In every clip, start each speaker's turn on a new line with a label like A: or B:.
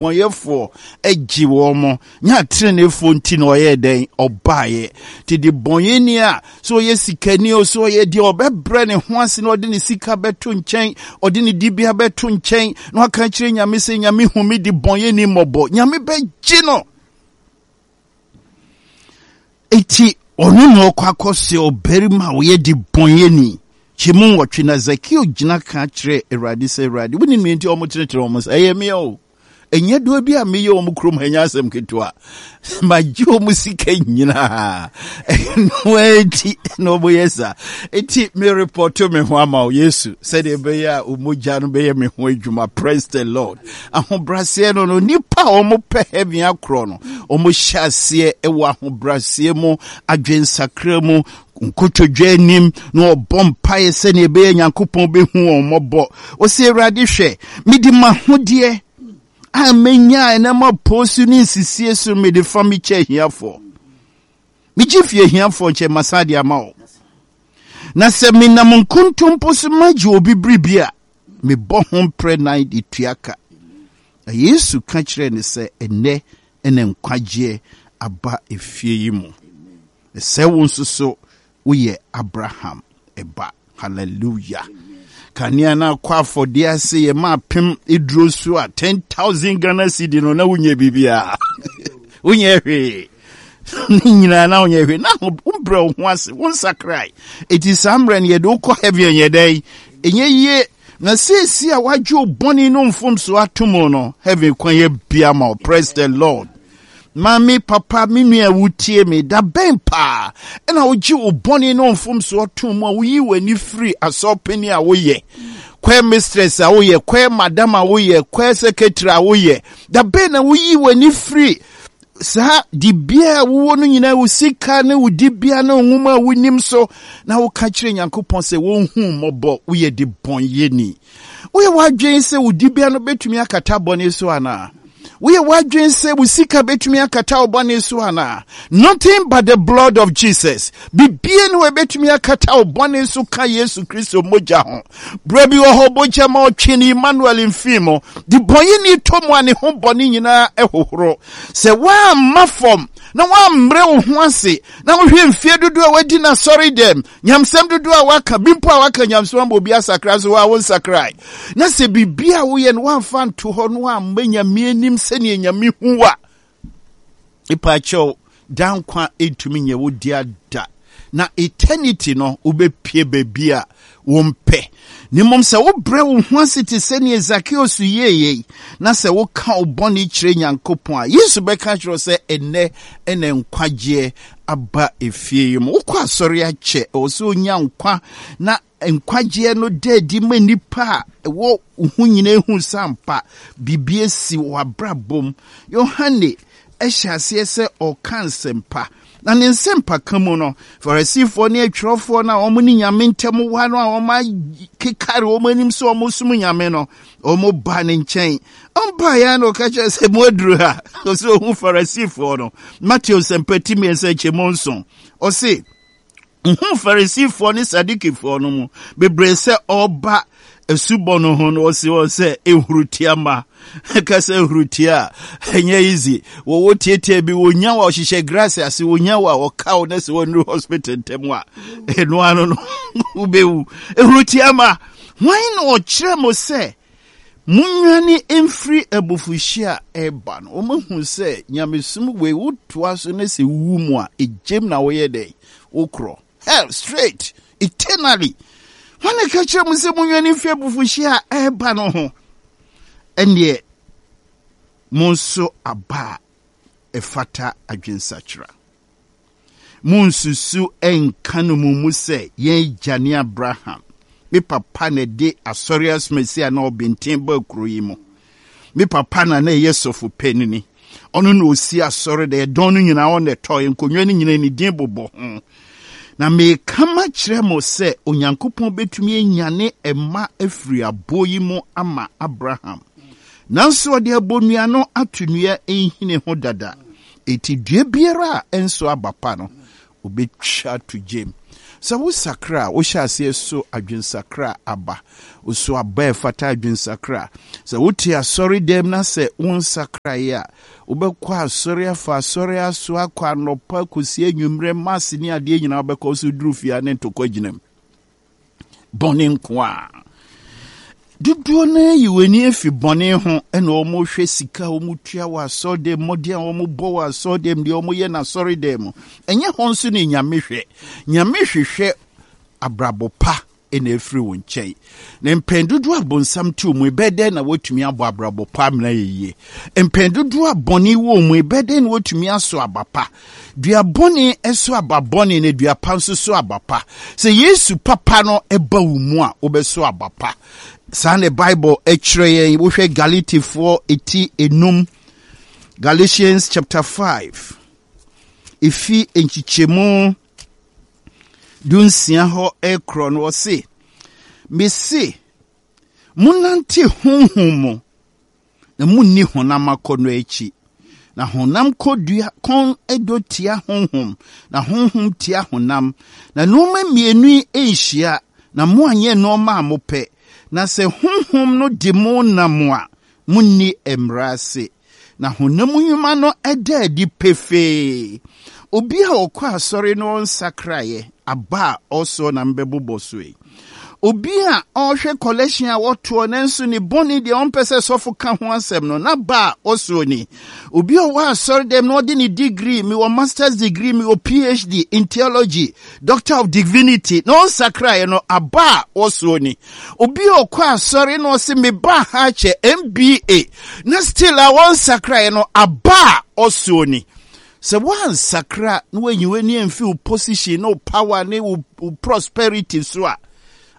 A: Bɔnyɛfoɔ gye wɔn mo, nyɛ ateneneefoɔ nti na ɔyɛɛ dɛn? Ɔbaeɛ. Nti de bɔnyɛni a, sɛ ɔyɛ sikani o, sɛ ɔyɛ deɛ ɔbɛbrɛ ne ho ase na ɔde ne sika bɛto nkyɛn, ɔde ne dibea bɛto nkyɛn, na waka akyerɛ Nyame sɛ, Nyame hu me de bɔnyɛni mmɔbɔ. Nyame bɛgye no. Enti ɔno na ɔkɔ akɔsɛ ɔbarima a ɔyɛ debɔnyɛni. Kyɛmu nwɔtwe na Zakeo gyina ka kyerɛ Awurade sɛ, Awurade, wonim nea enti a wɔtenetene wɔn nsa? Ɛyɛ me o. Ɛnyɛ doɔ bi a meyɛ wɔn kurom ha nyɛ asɛm ketewa. Magye wɔn sika nyinaa. Ɛno ara nti na wɔyɛ saa. Enti merepɔto me ho ama wo, Yesu, sɛdeɛ ɛbɛyɛ a wo mogya no bɛyɛ me ho adwuma. Praise the Lord. Ahobraseɛ no no, nnipa a wɔpɛ heaven akorɔ no, wɔhyɛ aseɛ wɔ ahobraseɛ mu, adwensakra mu, nkotodwe anim, na wɔbɔ mpaeɛ sɛdeɛ ɛbɛyɛ Nyankopɔn bɛhu wɔn mmɔbɔ. Wɔsɛ Awurade hwɛ, mede m'ahodeɛ a menya ɛnam apoo so ne nsisie so mede fa mekyɛ ahiafoɔ. Megye fi ahiafoɔ nkyɛn masan de ama wo. Na sɛ menam nkontompo so magye obi biribi a, mebɔ ho mprɛ nan de tua ka. Na Yesu ka kyerɛɛ no sɛ, Ɛnnɛ na nkwagyeɛ aba efie yi mu. Sɛ wo nso so woyɛ Abraham ba. Hallelujah. Kanea no akɔ afɔdeɛ ase yɛ ma apem eduro so a 10,000 Ghana cedi no na wonyɛ biribiara. Wonyɛ hwee. Ne nyinaa na wonyɛ hwee. Na wobrɛ wo ho ase, wo nsakrae. Eti saa mmerɛ no yɛde wokɔ heaven yɛ dɛn? Ɛnyɛ yie. Na seesie a wagye wo bɔne no mfomso ato mu no, heaven kwan yɛ bia ma wo. Praise the Lord. Maame, papa, me nua a wotie me, da bɛn paa ɛna wogye wo bɔne ne wo mfomsoɔ to mu a woyi w'ani firi asɔrpanin a woyɛ, choir mistress a woyɛ, choir madam a woyɛ, choir secretary a woyɛ, da bɛn na woyi w'ani firi saa dibea a wowɔ no nyinaa, wo sika ne wo dibea ne wo nwoma a wonim so, na woka kyerɛ Nyankopɔn sɛ wɔnhu mmɔbɔ, woyɛ de bɔnyɛni. Woyɛ w'adwene sɛ wo dibea no bɛtumi akata bɔne so anaa? Woyɛ w'adwene sɛ wo sika bɛtumi akata wo bɔne so anaa? Nothing but the blood of Jesus. Bibie ne wɔbɛtumi akata wo bɔne so ka Yesu Kristo mogya ho. Berɛ bi wɔ hɔ mogya ma ɔtwe ne Emmanuel mfii mu. De bɔnyɛni tɔ mu a ne ho bɔne nyinaa ɛhohoro. Sɛ woamma fam na woammrɛ wo ho ase na wohwɛ mfie dodoɔ a wadi n'asɔre dɛm Nyamsɛm dodoɔ a waka, bi mpo a waka nyamsɛm ama obi asakra so a wonsakrae. Na sɛ biribi a woyɛ no woamfa nto hɔ no amma Nyame anim sɛdeɛ Nyame hu a, ipaakyɛw, daa nkwa ntumi nyɛ wo dea da. Na eternity no, wobɛpie baabi a wompɛ. Na mmom sɛ wobrɛ wo ho ase te sɛ nea Zakeus yɛeɛ yi, na sɛ woka wo bɔne kyerɛ Nyankopɔn a, Yesu bɛka akyerɛ wo sɛ, ɛnnɛ na nkwagyeɛ aba efie yi mu. Wokɔ asɔre akyɛ, ɛwɔ sɛ onya nkwa na nkwagyeɛ no da adi ma nnipa a ɛwɔ wo ho nyinaa hu sɛ ampa biribi asi wɔ abrabɔ mu. Yohane hyɛ aseɛ sɛ ɔreka nsɛmpa. Na ne nsɛmpaka mu no, Farisifoɔ ne atwerɛfoɔ no a wɔn ne Nyame ntam wa no a wɔakekare wɔn anim sɛ wɔsom Nyame no, wɔn ba ne nkyɛn. Ɔmpaeɛ ara na ɔka kyerɛ sɛ mo aduru ha. Ɔsɛ ɔhu Farisifoɔ no. Mateo nsɛmpa ti mmiɛnsa nkyɛmu nson. Ɔse, Ohuu Farisifoɔ ne Sadukifoɔ no mu bebree sɛ ɔreba asubɔ no ho no, ɔse wɔn sɛ, Nhurutia mma. Ɛka sɛ nhurutia a, ɛnyɛ easy. Wɔwɔ tietia bi, wɔnya wo a ɔhyehyɛ grass ase, wɔnya wo a ɔka wo na sɛ wɔnnuru hospital ntɛm a, ɛno ano no, wobɛwu. Nhurutia mma, hwan na ɔkyerɛ mo sɛ Monnwane mfiri abufuhyeɛ a ɛreba no. Wɔahu sɛ nyamesom wei wotoa so na sɛ wowu mu a, egyem na woyɛ dɛn? Wokorɔ. Hell, straight, eternally. Hwan na ɛka kyerɛ mo sɛ monnwane mfiri abufuhyeɛ a ɛreba no ho? Ɛnneɛ, monso aba a ɛfata adwensakyera. Munnsusu nnka no mo mu sɛ, 'Yɛn agya ne Abraham. Me papa na ɛde asɔre asomasi a na ɔbenten baa kurow yi mu. Me papa na na ɛyɛ sɔfo panini. Ɔno na osi asɔre dɛ, ɛdɔn no nyinaa ɔno na ɛtɔe, nkonnwa no nyinaa ne din bobɔ ho. Na mereka makyerɛ mo sɛ Onyankopɔn betumi anyane mma afiri aboɔ yi mu ama Abraham. Nanso ɔde abonnua no ato nnua nhini ho dada. Enti dua biara a ɛnso aba pa no, obetwa ato gyam. Sɛ wosakra a, wohyɛ aseɛ so adwensakra aba. Woso aba a ɛfata adwensakra. Sɛ wote asɔredɛm na sɛ wonsakraeɛ a, wobɛkɔ asɔre afa asɔre aso akɔ anɔpa kɔsi anwummerɛ, mass ne adeɛ nyinaa wobɛkɔ so duru fie a ne ntɔkwa gyina mu. Bɔne nko a. Dodoɔ no ara yi wɔn ani afi bɔne ho na wɔhwɛ sika a wɔtua wɔ asɔredɛm, mmɔden a wɔbɔ wɔ asɔredɛm, deɛ wɔyɛ no asɔredɛm mu. Ɛnyɛ hɔ nso ne Nyame hwɛ. Nyame hwehwɛ abrabɔ pa na afiri wo nkyɛn. Na mpɛn dodoɔ a bonsam te wo mu, ɛbɛyɛ dɛn na woatumi abɔ abrabɔ pa amena yɛ yie? Mpɛn dodoɔ a bɔne wɔ wo mu, ɛbɛyɛ dɛn na woatumi aso aba pa? Dua bɔne so aba bɔne na dua pa nso so aba pa. Sɛ Yesu papa no ba wo mu a, wobɛso aba pa. Saa na Bible kyerɛ yɛn. Wohwɛ Galatifoɔ eti enum, Galatians chapter 5, efi nkyekyɛmu dunsia hɔ rekorɔ no, ɔse, Mese, monnante honhom mu, na munni honam akɔnnɔ akyi. Na honam kɔdua kɔn dɔ tia honhom, na honhom tia honam. Na nneɛma mmienu yi nhyia, na moanyɛ nneɛma a mopɛ. Na sɛ honhom no de mo nam a, munni mmara ase. Na honam nnwuma no da adi pefee. Obi a ɔkɔ asɔre na ɔnsakraeɛ, aba a ɔsoɔ na mebɛbobɔ so yi. Obi a ɔrehwɛ kɔlɛhyen a wɔtoɔ nanso ne bɔne deɛ ɔmpɛ sɛ sɔfo ka ho asɛm no, n'aba a ɔsoɔ ni. Obi a ɔwɔ asɔre dɛm na ɔde ne degree, mewɔ masters degree, mewɔ PhD in theology, doctor of divinity, na ɔnsakraeɛ no, aba a ɔsoɔ ni. Obi a ɔkɔ asɔre na ɔse meba ha kyɛ MBA, na still a ɔnsakraeɛ no, aba a ɔsoɔ ni. Sɛ woansakra na woanyi w'ani amfi wo position ne wo power ne wo prosperity so a,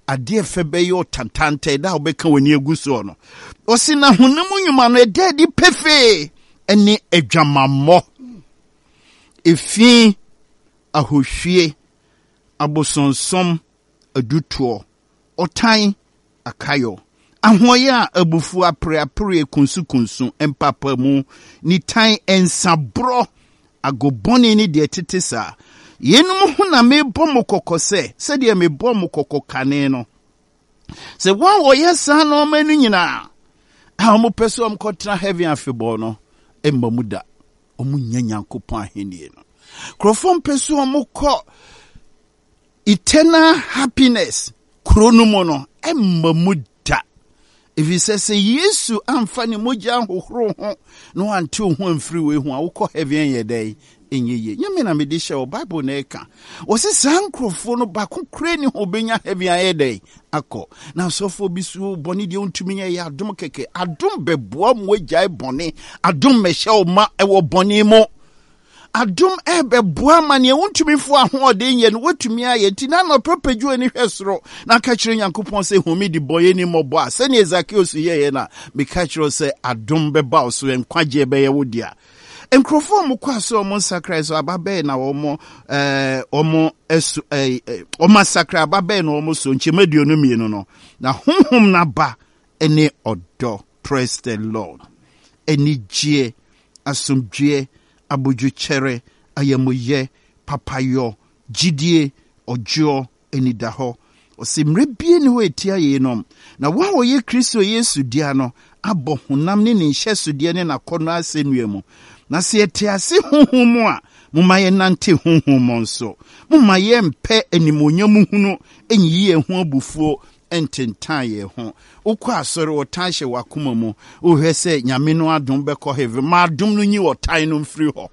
A: adeɛ fɛ bɛyɛ ɔtantantɛ da a wobɛka w'ani agu soɔ no. Ɔse na honam nnwuma no ɛda adi pefee ɛne adwamammɔ, efi, ahohwie, abosonsom, adutoɔ, ɔtan, akayɔ, ahoɔyɛ a abufuo apereapereɛ kunsukunsu, mpapamu, nitan, nsaborɔ, agobɔne ne deɛ ɛtete saa. Yeinom ho na merebɔ mo kɔkɔ sɛ, sɛdeɛ mebɔɔ mo kɔkɔ kane no, sɛ wɔn a wɔyɛ saa nnoɔma no nyinaa a wɔpɛ sɛ wɔkɔtena heaven afebɔɔ no mma mu da. Wɔnnya Nyankopɔn ahennie no. Nkurɔfoɔ mpɛ sɛ wɔkɔ Eternal happiness kuro no mu no ɛmma mu da. Ɛfiri sɛ sɛ Yesu amfa ne mogya anhohoro ho na wante wo ho amfiri wei ho a, wokɔ heaven ɛnyɛ dɛn? Ɛnyɛ yie. Nyɛ me na mede hyɛ wɔ Bible na ɛka. Wɔse saa nkurɔfoɔ no baako koraa ni hɔ ɔbɛnya heaven ayɛ dɛn? Akɔ. Na asɔfoɔ bi so bɔne deɛ wontumi nyɛ yɛ adom kɛkɛ. Adom bɛboa mu agyae bɔne. Adom mmɛhyɛ wo ma ɛwɔ bɔne mu. Adom ɛrebɛboa ma nea wontumi fo ahoɔden yɛ no woatumi ayɛ. Nti na anɔpa pagya w'ani hwɛ soro na ka kyerɛ Nyankopɔn sɛ hu me de bɔyɛni mmɔbɔ a sɛnea Zakeus yɛeɛ no a meka kyerɛ wo sɛ adom bɛba wo so nkwagyeɛ bɛyɛ wo dea. Nkurɔfoɔ a wɔkɔ ase a wɔn nsakrae so aba bɛyɛ na wɔn ɛɛ wɔn ɛso ɛɛ wɔn asakra aba bɛyɛ na wɔn so nkyɛn 22 no na honhom n'aba ne ɔdɔ. Praise the Lord. Anigyeɛ, asomdwoeɛ, abodwokyɛrɛ, ayamuyɛ, papayɔ, gyidie, ɔdwoɔ, anidahɔ. Ɔse mmerɛ bie nni hɔ a ɛtia yeinom. Na wɔn a wɔyɛ Kristo Yesu dea no abɔ honam ne ne nhyɛsodeɛ ne n'akɔnnɔ asɛnnua mu. Na sɛ yɛte ase honhom mu a, momma yɛnnante honhom mu nso. Momma yɛmmpɛ animuonyam hunu nnyiyi yɛn ho abufuo ntentan yɛn ho. Wokɔ asɔre, ɔtan hyɛ w'akoma mu. Wohwɛ sɛ Nyame no adom bɛkɔ heaven. Ma adom no nyi ɔtan no mfiri hɔ.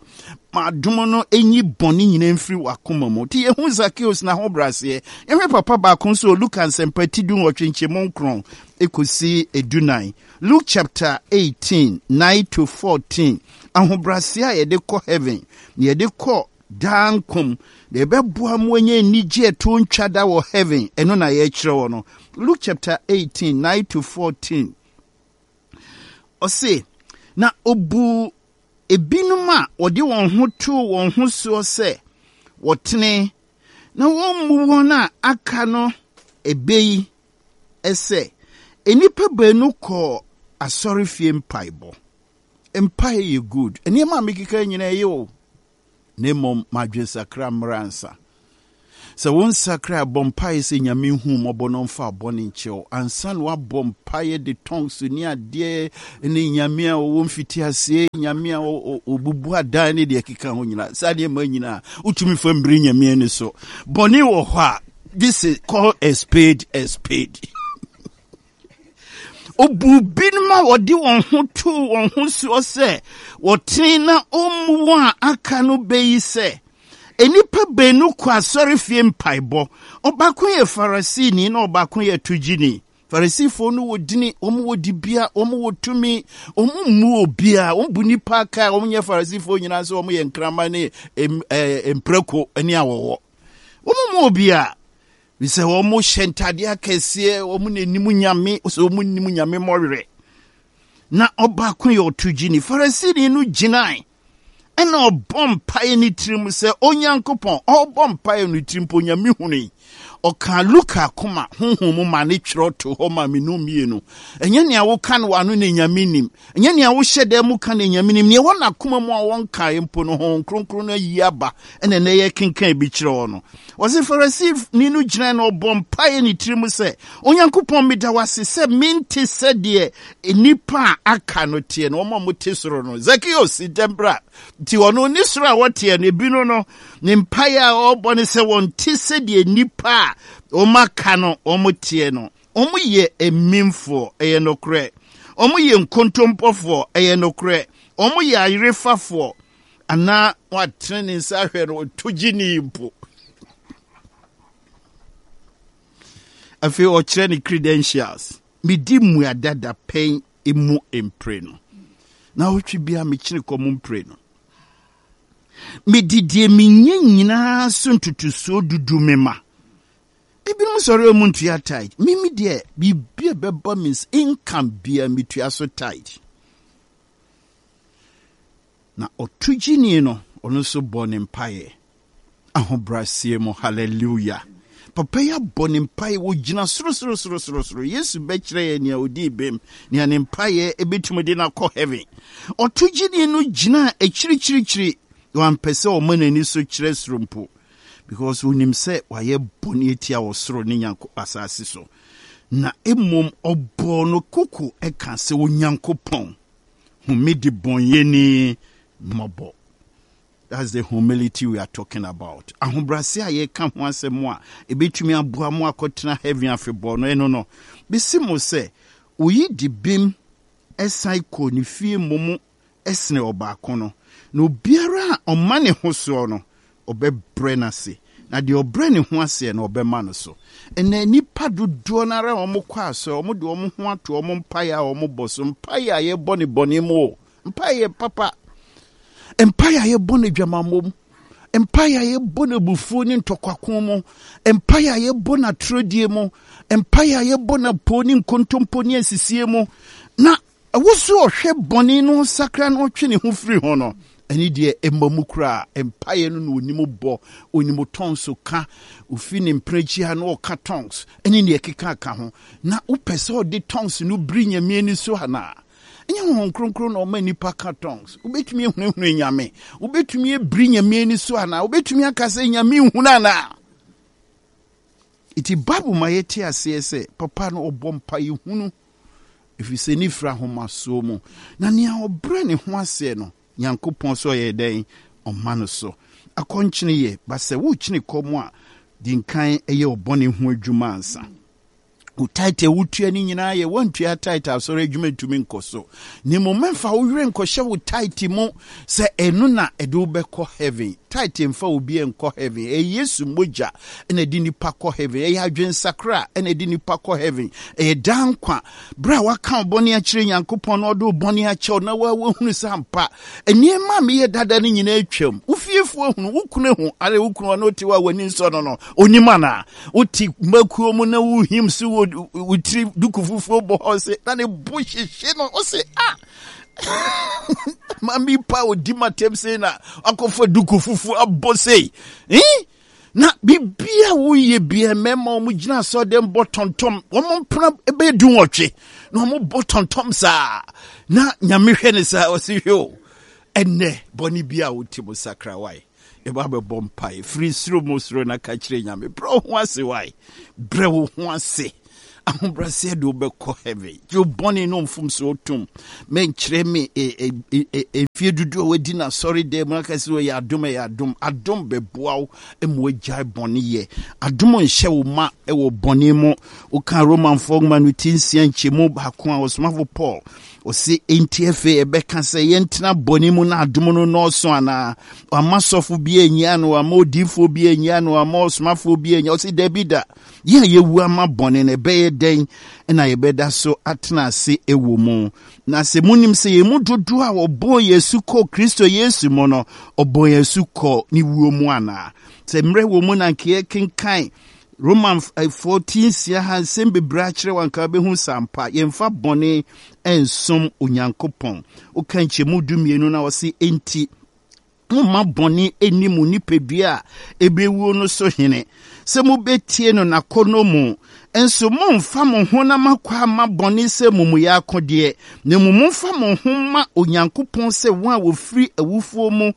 A: Ma adom no nyi bɔne nyinaa mfiri w'akoma mu. Nti yɛhu Zacchaeus n'ahobrɛaseɛ. Yɛhwɛ papa baako nso wɔ Luka nsɛmpa ti 18 nkyɛmu nkron kɔsi 14. Luke chapter 18, 9 to 14. Ahobrɛaseɛ a yɛde kɔ heaven, na yɛde kɔ Daa nkwa mu, na ɛbɛboa mo anya anigye a ɛto ntwa da wɔ heaven. Ɛno na yɛrekyerɛ wɔ no. Luke chapter 18, 9 to 14. Ɔse, na obuu ebinom a wɔde wɔn ho too wɔn ho soɔ sɛ wɔtene, na wɔmmu wɔn a aka no ɛbɛ yi sɛ, nnipa baanu kɔɔ asɔrefie mpaebɔ. Mpae yɛ good. Nneɛma a mekeka nyinaa ɛyɛ o. Na mmom m'adwensakra mmra ansa. Sɛ wonsakra a, bɔ mpaeɛ sɛ Nyame nhu wo mmɔbɔ na ɔmfa wo bɔne nkyɛ wo ansa na woabɔ mpaeɛ de tongues ne adeɛ ne Nyame a ɔwɔ mfitiaseɛ, Nyame a ɔbubu adan ne deɛ ɛkeka ho nyinaa. Saa nneɛma nyinaa wotumi fa mmiri Nyame ani so. Bɔne wɔ hɔ a, this is call a spade a spade. Obuu binom a wɔde wɔn ho too wɔn ho soɔ sɛ wɔtene na ɔmmu wɔn a aka no bɛ yi sɛ, Nnipa baanu kɔ asɔrefie mpaebɔ, ɔbaako yɛ Farisini na ɔbaako yɛ togyeni. Farisifoɔ no wɔ dini, wɔn wɔ dibea, wɔn wɔ tumi, wɔn mmu obiara, wɔn bu nnipa aka a wɔn nyɛ Farisifoɔ nyinaa sɛ wɔn yɛ nkraman ne mprako ne awɔwɔ. Wɔn mmu obiara. Sɛ wɔhyɛ ntadeɛ akɛseɛ, wɔn na anim nyame, sɛ wɔn nim nyame mmɔwerɛ. Na ɔbaako yɛ ɔtogyini. Farisini no gyinae ɛna ɔbɔ mpaeɛ ne tirim sɛ Onyankopɔn, ɔbɔ mpaeɛ no tirim mpo Onyame hunui. Ɔkaa Luka akoma honhom mu ma ne twerɛ to hɔ ma menu mmienu. Ɛnyɛ nea woka no w'ano na Nyame nim. Ɛnyɛ nea wohyɛ dan mu ka na Nyame nim. Nea ɛwɔ n'akoma mu a wɔnkae mpo no, Honhom Kronkron no ayi aba ɛna ɛnɛ yɛkenkan bi kyerɛ wɔ no. Ɔse Farisini no gyinae na ɔbɔ mpaeɛ ne tirim sɛ, Onyankopɔn meda wo ase sɛ mente sɛdeɛ nnipa a aka no teɛ no, wɔn a wɔte soro no. Zakeus si dɛm bra. Nti ɔno ne soro a wɔteɛ no, ebi no no, ne mpaeɛ a ɔrebɔ ne sɛ wɔnte sɛdeɛ nnipa a wɔn aka no wɔn teɛ no. Wɔyɛ amimfoɔ, ɛyɛ nokorɛ. Wɔyɛ nkontompɔfoɔ, ɛyɛ nokorɛ. Wɔyɛ ayerefafoɔ, anaa watene ne nsa ahwɛ no, ɔto gyeni mpo. Afei ɔkyerɛ ne credentials. Medi mmuada dapɛn mu mprenu. Naawɔtwe biara mekyene kɔm mprenu. Mede deɛ menya nyinaa so ntotosoɔ dudu mema. Ebinom sɔre a wɔn ntua tithe. Me me deɛ biribi a ɛbɛba me nsa income bia metua so tithe. Na ɔtogyeni no ɔno nso bɔ ne mpaeɛ ahobrɛaseɛ mu hallelujah. Papa yi abɔ ne mpaeɛ wɔgyina soro soro soro soro soro. Yesu bɛkyerɛ yɛ nea ɔdii bem nea ne mpaeɛ ɛbɛtumi de no akɔ heaven. Ɔtogyeni no gyina akyirikyirikyiri wampɛ sɛ ɔma n'ani so kyerɛ soro mpo. Because onim sɛ wayɛ bɔne atia ɔsoro ne Nyanko asase so. Na mmom ɔbɔɔ no koko ka sɛ, Onyankopɔn, hu me debɔnyɛni mmɔbɔ. That's the humility we are talking about. Ahobrɛase a yɛka ho asɛm a ebetumi aboa mo akɔtena heaven afebɔɔ no, ɛno no. Besi mo sɛ, oyi di bem san kɔɔ ne fie mmom sene ɔbaako no, na obiara a ɔma ne ho soɔ no, ɔbɛbrɛ no ase, na deɛ ɔbrɛ ne ho aseɛ no, ɔbɛma no so. Ɛnnɛ, nnipa dodoɔ no ara a wɔkɔ asɔre, wɔde wɔn ho ato wɔn mpaeɛ a wɔbɔ so, mpaeɛ a yɛbɔ no bɔne mu o, mpaeɛ yɛ papa, mpaeɛ a yɛbɔ no adwamammɔ mu, mpaeɛ a yɛbɔ no abufuo ne ntɔkwako mu, mpaeɛ a yɛbɔ no atorɔdie mu, mpaeɛ a yɛbɔ no apoo ne nkontompo ne asisie mu, na Ɛwɔ sɛ ɔhwɛ bɔne no ɔsakra na ɔtwe ne ho firi ho no, ɛne deɛ ɛmma mu koraa. Mpaeɛ no na ɔnim bɔ, ɔnim tongues ka, ɔfi ne mprɛkyi ha na ɔka tongues, ɛne deɛ ɛkeka ka ho. Na wopɛ sɛ ɔde tongues no biri Nyame ani so anaa? Ɛnyɛ Honhom Kronkron na ɔma nnipa ka tongues. Wobɛtumi ahunahuna Nyame? Wobɛtumi abiri Nyame ani so anaa? Wobɛtumi aka sɛ Nyame nhunu anaa? Nti Bible ma yɛte aseɛ sɛ papa no ɔbɔ mpaeɛ hunu ɛfiri sɛ ne firi ahomasoɔ mu, na nea ɔbrɛ ne ho aseɛ no, Nyankopɔn sɛ ɔyɛ dɛn? Ɔma no so. Akɔnkyene yɛ, ba sɛ worekyene kɔm a, di nkan yɛ wo bɔne ho adwuma ansa. Wo tithe a wotua no nyinaa yɛ, woantua tithe a asɔre adwuma ntumi nkɔ so. Na mmom mɛmfa wo werɛ nkɔhyɛ wo tithe mu sɛ ɛno na ɛde wo bɛkɔ heaven. Tithe mfa obi nkɔ heaven. Ɛyɛ Yesu mogya na ɛde nipa kɔ heaven. Ɛyɛ adwensakra na ɛde nipa kɔ heaven. Ɛyɛ daa nkwa. Berɛ a waka wo bɔne akyerɛ Nyankopɔn na ɔde wo bɔne akyɛ wo na woahunu sɛ ampa nneɛma a meyɛ dada no nyinaa atwam. Wo fiefoɔ ahunu, wo kunu ahu, are wo kunu ɔne wote hɔ a w'ani nsɔ no no, onim anaa? Wote mmakuo mu na wohim so wɔ wo tiri duku fufuo bɔ hɔ se na ne bo hyehye no, wo se ah Mami pa odi matem sei na akɔfa duku fufuo abɔ sei. Eh? Na biribi a woyɛ bia mmarima wɔn gyina asɔrɔdɛm bɔ tɔntɔm wɔn mpena bɛyɛ dunwɔtwe na wɔn bɔ tɔntɔm saa na nyame hwɛ ne saa ɔsi hwɛ o ɛnɛ bɔne bi a wote mu sakra wae. Yɛba bɛbɔ mpae. Firi soro mu soro na ka kyerɛ Nyame. Brɛ wo ho ase wae. Brɛ wo ho ase. Ahobrɛaseɛ de wobɛkɔ heaven. Gye wo bɔne ne wo mfomsoɔ tom. Mɛnkyerɛ me mfeɛ dodoɔ a wadi no asɔre dan mu aka sɛ ɔyɛ adom ɛyɛ adom. Adom bɛboa wo ma wagyae bɔne yɛ. Adom nhyɛ wo ma wɔ bɔne mu. Woka Romanfoɔ nwoma no ti nsia nkyɛmu baako a ɔsomafo Paul ɔse enti afei ɛbɛka sɛ yɛntena bɔne mu na adom no nnɔɔso anaa? Wamma sɔfo bi annyia no, wamma odiyifoɔ bi annyia no, wamma ɔsomafoɔ bi annyia. Ɔse dabi da. Yɛn a yɛawu ama bɔne no, ɛbɛyɛ dɛn na yɛbɛda so atena ase wɔ mu? Na sɛ munim sɛ yɛn mu dodoɔ a wɔbɔɔ yɛn asu kɔɔ Kristo Yesu mu no, ɔbɔɔ yɛn asu kɔɔ ne wuo mu anaa? Sɛ mmerɛ wɔ mu na anka yɛkenkan Romanfoɔ ti nsia ha nsɛm bebree akyerɛ wo anka wobɛhu sɛ ampa yɛmfa bɔne nsom Onyankopɔn. Woka nkyɛmu dumienu no a ɔse enti Momma bɔne nni mo nipadua a ebewuo no so hene, sɛ mubetie no n'akɔnnɔ mu. Nso mommfa mo honam akwaa mma bɔne sɛ amumuyɛ akodeɛ, na mmom momfa mo ho mma Onyankopɔn sɛ wɔn a wɔfiri awufoɔ mu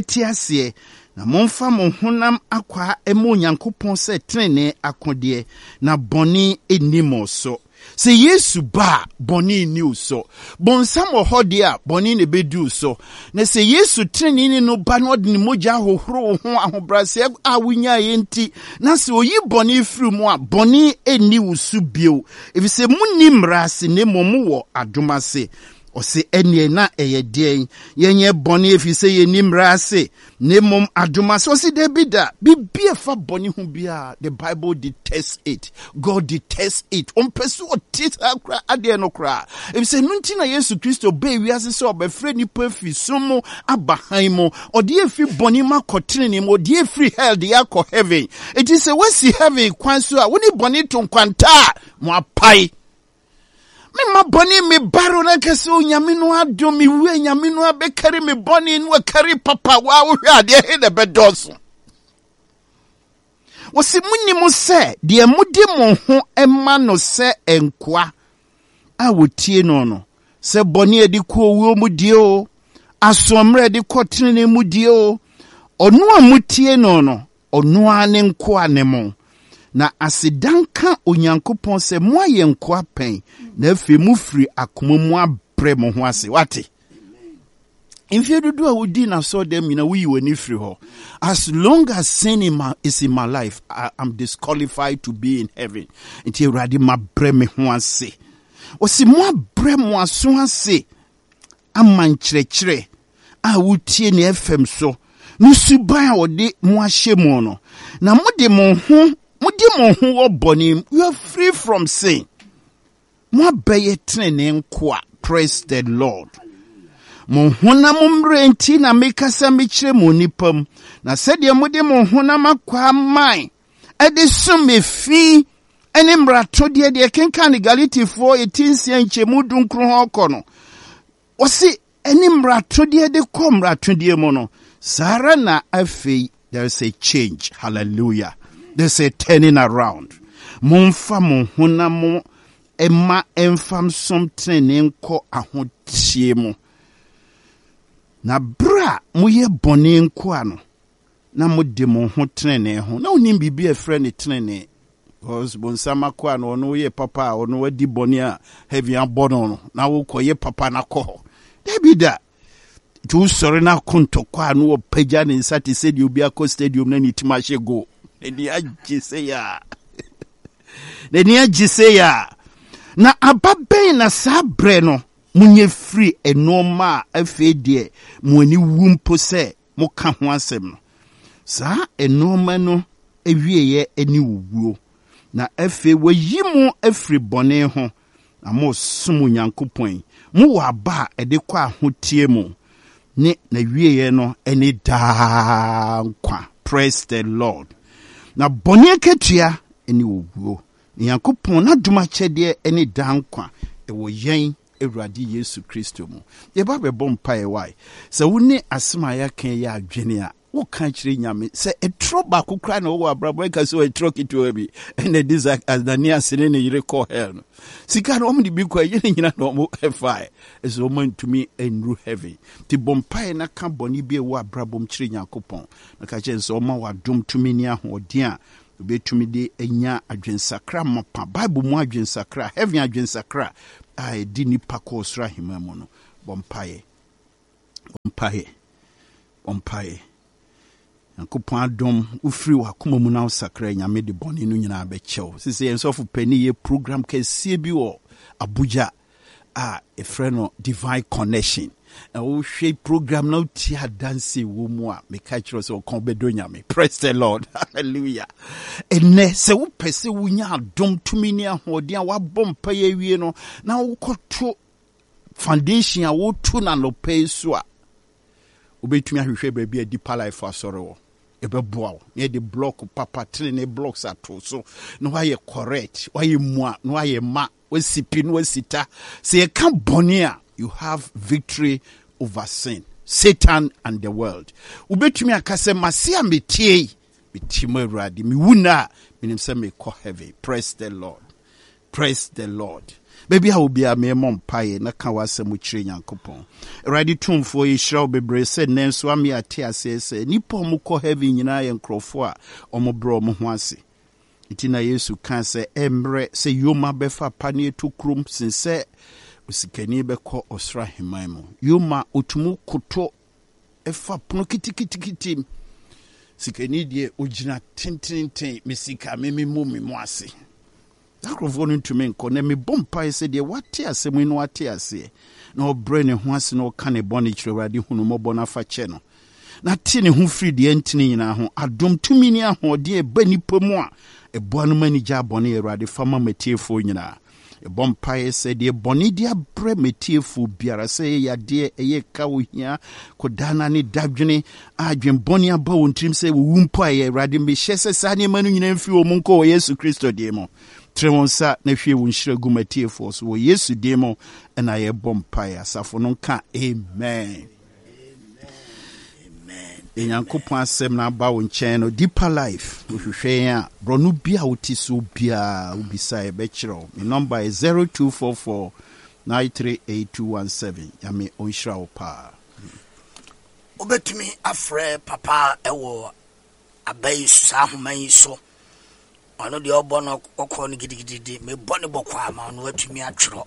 A: te aseɛ, na momfa mo honam akwaa mma Onyankopɔn sɛ tenenee akodeɛ, na bɔne nni mo so. Sɛ Yesu ba a, bɔne nni wo so. Bonsam wɔ hɔ deɛ a, bɔne na ɛbɛdi wo so. Na sɛ Yesu teneneeni no ba na ɔde ne mogya ahohoro wo ho ahobrɛaseɛ a wonyaeɛ nti, na sɛ ɔyi bɔne firi mu a, bɔne nni wo so bio. Ɛfiri sɛ monni mmara ase, na mmom mowɔ adom ase. Ɔse, ɛnneɛ na ɛyɛ deɛn? Yɛnyɛ bɔne ɛfiri sɛ yɛnni mmara ase, na mmom adom ase. Ɔse dabi da, biribi a ɛfa bɔne ho biara, the Bible detests it. God detests it. Ɔmpɛ sɛ ɔte saa kora adeɛ no koraa. Efisɛ ɛno nti na Yesu Kristo bɛɛ wiase sɛ ɔbɛfrɛ nnipa afiri sum mu aba hann mu. Ɔde yɛ firi bɔne mu akɔ tenenee mu. Ɔde yɛ firi hell de yɛ akɔ heaven. Enti sɛ woasi heaven kwan so a, wo ne bɔne to nkwanta a, mo apae. Memma bɔne me baro na nka sɛ onyame no adom me wue nyame no abɛkari me bɔne no akari papa waa wohwɛ adeɛ he na ɛbɛdɔɔso. Wɔsi monim sɛ deɛ mode mo ho ma no sɛ nkoa a wɔtie no no, sɛ bɔne a ɛde kɔ owuo mu die o, asoɔmmerɛ a ɛde kɔ tenenee mu die o, ɔno a motie no no, Ɔno ara ne nkoa ne mo. Na aseda nka Onyankopɔn sɛ moayɛ nkoa pɛn, na afei mofiri akoma mu abrɛ mo ho ase. Wate? Mfeɛ dodoɔ a wodii n'asɔɔdɛm nyina woyi w'ani firi hɔ. As long as sin in my, is in my life, I am disqualified to be in heaven. Nti Awurade mabrɛ me ho ase. Ɔsi moabrɛ mo aso ase ama nkyerɛkyerɛ a wotie ne FM so no suban a wɔde mo ahyɛ mu no, na mode mo ho mode mo ho wɔ bɔne mu. You are free from sin. Moabɛyɛ tenenee nkoa. Praise the Lord. Mo honam mmerɛ nti na mekasa mekyerɛ mo nnipa mu, na sɛdeɛ mode mo honam akwaa mae de som efi ne mmaratodeɛ deɛ kenkan ne Galatifoɔ ɛti nsia nkyɛmu dunkron hɔ kɔ no, wɔse ɛne mmaratodeɛ de kɔ mmaratodeɛ mu no, saa ara na afei there is a change. Hallelujah. There's a turning around. Momfa mo honam mo mma ɛmfa nsom tenenee nkɔ ahoteɛ mu. Na berɛ a moyɛ bɔne nkoa no, na mode mo ho tenenee ho. Na wonim biribi a ɛfrɛ no tenenee. Because bonsam akoa no, ɔno woyɛ papa a, ɔno wadi bɔne a heaven abɔ no no, na wokɔyɛ papa no akɔ hɔ. Dabi da. Nti wosɔre no ako ntɔkwa a na wɔpagya ne nsa te sɛ deɛ obi akɔ stadium na ne tim ahyɛ goal. N'ani agye sɛ yɛ a. N'ani agye sɛ yɛ a. Na aba bɛn na saa berɛ no monyɛ firi nneɛma a afei deɛ mo ani wu mpo sɛ moka ho asɛm no, saa nnoɔma no awieɛ ne owuo. Na afei wɔayi mo afiri bɔne ho, na moresom Onyankopɔn yi, mowɔ aba a ɛde kɔ ahoteɛ mu, ne n'awieɛ no ne daa nkwa. Praise the Lord. Na bɔne akatua ne owuo. Na Nyankopɔn n'adom akyɛdeɛ ne daa nkwa ɛwɔ yɛn Awurade Yesu Kristo mu. Yɛba bɛbɔ mpaeɛ wae. Sɛ wo ne asɛm a yɛaka yi yɛ adwene a, Woka kyerɛ Nyame sɛ ɛtorɔ baako koraa na wɔwɔ abrabɔ ɛka sɛ ɛtorɔ ketewa bi ɛna ɛde Ananias ne ne yere kɔ hell no. Sika no wɔn de bi kɔ ɛyɛ ne nyina na wɔn ɛfae ɛsɛ wɔn antumi nnuru heaven. Nti bɔ mpaeɛ na ka bɔne bi a ɛwɔ abrabɔ mu kyerɛ Nyankopɔn na ka kyerɛ no sɛ ɔma w'adom tumi ne ahoɔden a obetumi de anya adwensakra mapa, Bible mu adwensakra, heaven adwensakra a ɛde nipa kɔ ɔsoro ahemman mu no. Bɔ mpaeɛ. Bɔ mpaeɛ. Bɔ mpaeɛ. Nyankopɔn adom, wofiri w'akoma mu na wosakra Nyame de bɔne no nyinaa bɛkyɛ wo. Sese yɛn sɔfo panin yɛ program kɛseɛ bi wɔ Abuja a ɛfrɛ no Divine Connection. Na wohwɛ program na wotie adanse wɔ mu a, meka kyerɛ sɛ ɔkɔn bɛdɔ Nyame. Praise the Lord. Hallelujah. Ɛnɛ sɛ wopɛ sɛ wonya adom tumi ne ahoɔden a woabɔ mpaeɛ awie no na wokɔto foundation a wotu no anɔpa yi so a, wobɛtumi ahwehwɛ baabi a Deeper Life asɔre wɔ. Ɛbɛboa wo na yɛde block papa tenene blocks ato so na woayɛ correct, woayɛ mua na woayɛ ma, woasi pi na woasi ta. Sɛ yɛka bɔne a, you have victory over sin, Satan and the world. Wobɛtumi aka sɛ mase a metie yi, metie mu Awurade, mewu nna a, menim sɛ mekɔ heaven. Praise the Lord. Praise the Lord. Baabi a obiara memmɔ mpaeɛ na ka w'asɛm kyerɛ Nyankopɔn. Awurade Tumfoɔ, yɛhyira wo bebree sɛ nnɛ nso ama yɛate aseɛ sɛ nnipa a wɔkɔ heaven nyinaa yɛ nkurɔfoɔ a wɔbrɛ wɔn ho ase. Nti na Yesu kaa sɛ ɛmmerɛ sɛ yoma bɛfa paneɛ tokurom sen sɛ osikani bɛkɔ ɔsoro ahemman mu. Yoma ɔtumi koto fa pono kitikitikiti mu. Sikani deɛ ɔgyina tententen, me sika me me mu me mu ase. Saa nkurɔfoɔ no ntumi nkɔ. Na mebɔ mpaeɛ sɛ deɛ wate asɛm yi no wate aseɛ na ɔbrɛ ne ho ase na ɔka ne bɔne kyerɛ Awurade hu no mmɔbɔ na fa kyɛ no na te ne ho firi deɛ ɛntene nyinaa ho. Adom tumi ne ahoɔden a ɛba nnipa mu a ɛboa no ma ani gyaa bɔne Awurade fa ma matiefoɔ nyinaa. Yɛbɔ mpaeɛ sɛ deɛ bɔne de abrɛ m'atiefoɔ biara, sɛ ɛyɛ yadeɛ, ɛyɛ ka, ohia, kɔdaana ne dadwene, a adwenbɔne aba wɔn tirim sɛ wɔwu mpo a ɛyɛ Awurade, mehyɛ sɛ saa nneɛma no nyinaa mfiri wɔn mu nkɔ wɔ Yesu Kristo din mu. Trɛ wɔn nsa na hwie wo nhyira gu m'atiefoɔ so wɔ Yesu din mu na yɛbɔ mpaeɛ. Asafo no nka amen. Deɛ Nyankopɔn asɛm no aba wo nkyɛn no, Deeper Life, wohwehwɛ yɛn a, borɔno bi a wote so biara, wobisa a yɛbɛkyerɛ wo. Me nɔmba yɛ 0244 938217. Nyame ɔnhyira wo paa.
B: Wobɛtumi afrɛ papa wɔ aba yi so, saa ahoma yi so. Ɔno deɛ ɔbɔ no ɔkɔ no gidigidi, mebɔ no bɔkɔ ama ɔno atumi atwerɛ.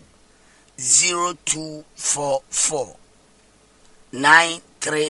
B: 0244 93.